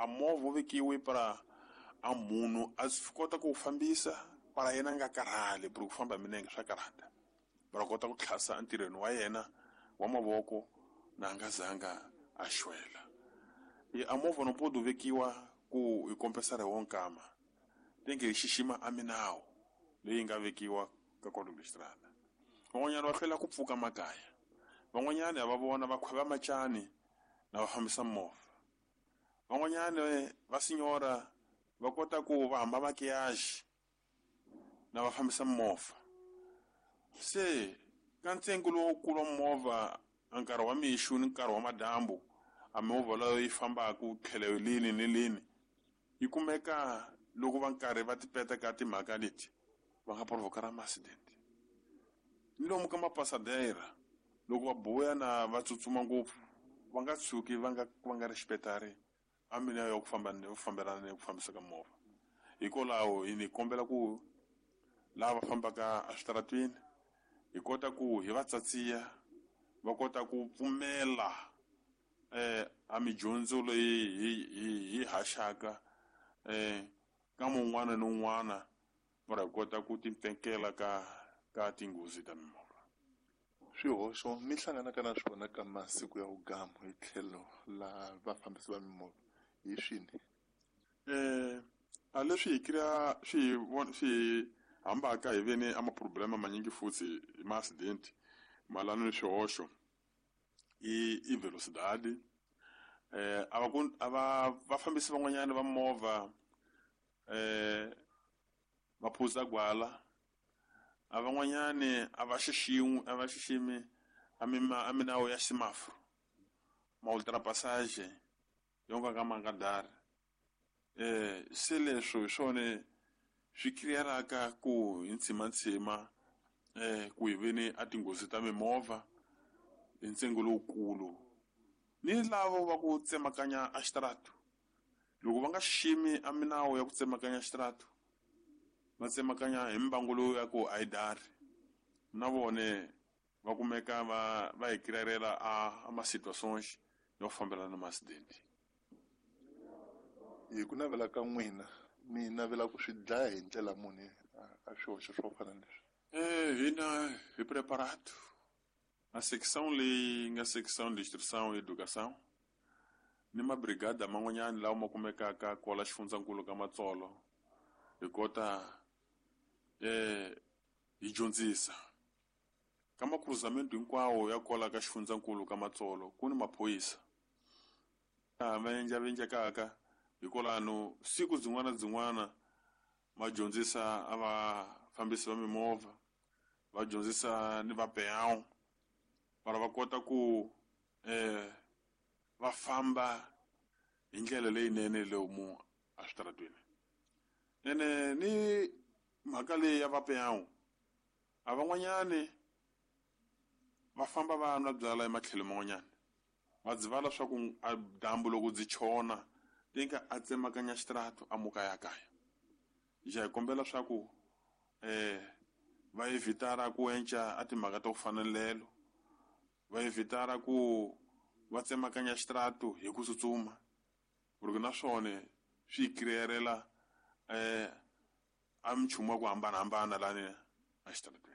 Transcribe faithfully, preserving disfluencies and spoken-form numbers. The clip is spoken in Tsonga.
A movha wu vekiwe para a munhu a swi kota ku wu fambisa para yena a nga karhali, ku ku famba hi milenge swa karhata, para kota ku tlhasa entirhweni wa yena wa mavoko na a nga zanga a xwela. E a movha no pode vekiwa ku hi kompensara hi wo nkama, tenge hi xixima a minawu leyi nga vekiwa ka código de estrada. Van'wanyana va hlwela ku pfuka makaya, van'wanyana ha va vona va khweva macani na va fambisa movha, van'wanyana va sinyora va kota ku va hamba makiyaji na va fambisa movha. Se ka ntsengo lowukulu wa movha a nkarhi wa mixo ni nkarhi wa madyambu, a movha leyi yi fambaka tlhelo lini ni lini yi kumeka loko va nkarhi va tipeta ka timhaka leti va nga provoka ma-accident. Ni lomu ka mapasadera loko va buya na va tsutsuma ngopfu va nga tshuki va nga va nga respectari a mina ya ku famba ni fambelana ni ku fambisa ka movha. Hikwalaho hi ni kombela ku lava fambaka eswitarateni hi kota ku hi va tsatsiya va kota ku pfumela eh a midyondzo leyi hi hi hi haxaka eh ka mun'wana ni un'wana va kota ku timpfekela ka ka tinghozi ta mimovha. Swihoxo mi hlanganaka na swona ka masiku ya vugamu hi tlhelo la vafambisi va mimovha hi swini? Eh a leswi hi kria swi swi hambaka hi veni a maproblema manyingi futhi hi ma-accident malano ni swihoxo i i velocidade. Eh a va ku a va vafambisi van'wanyana va movha eh va phuza gwala, a van'wanyani a va xiximi a va xiximi a mima a minawu ya semaforo ma ultrapassage yo nga ka ma nga dari. Eh se leswo hi swona swi crearaka ku hi ntshimantsima eh ku hi veni a tinghozi ta mimovha hi ntsengo lowukulu. Ni lavo va ku tsemakanya a xitaratu, loko va nga xiximi a minawu ya ku tsemakanya xitaratu, va tsemakanya hi mbangu lowu ya ku a yi dari, na vone va kumeka va va hi crearela a a ma-situations yo fambelana na ma-accident. Hi ku navela ka n'wina mi navela ku swi dlaya hi ndlela muni a swihoxo swo fana na leswi? Eh hina hi preparato a section leyi nga section de instrução e educação ni mabrigada man'wanyana lawa ma kumekaka kwala xifundzankulu ka Matsolo, hi kota eh hi dyondzisa ka makruzamento hinkwawo ya kwala ka xifundzankulu ka Matsolo. Ku ni maphorisa va endla va endlekaka hikwalano siku byin'wana byin'wana va dyondzisa a vafambisi va mimovha, va dyondzisa ni va peão para va kota ku eh va famba hi ndlela leyinene lomu eswitarateni. Ene ni mhaka leyi ya va peão, a van'wanyani va famba va nwa byala ematlhelo man'wanyana, va dzivala swa ku a dyambu loko byi chona tinka a tsemakanya xitaratu a muka ya kaya. Ja hi kombela swa ku eh va evitara ku enca a timhaka ta ku fana lelo, va evitara ku va tsemakanya xitaratu hi ku tsutsuma, ku na swona swi crearela eh a minchumu ya ku hambanahambana lani a xitarateni.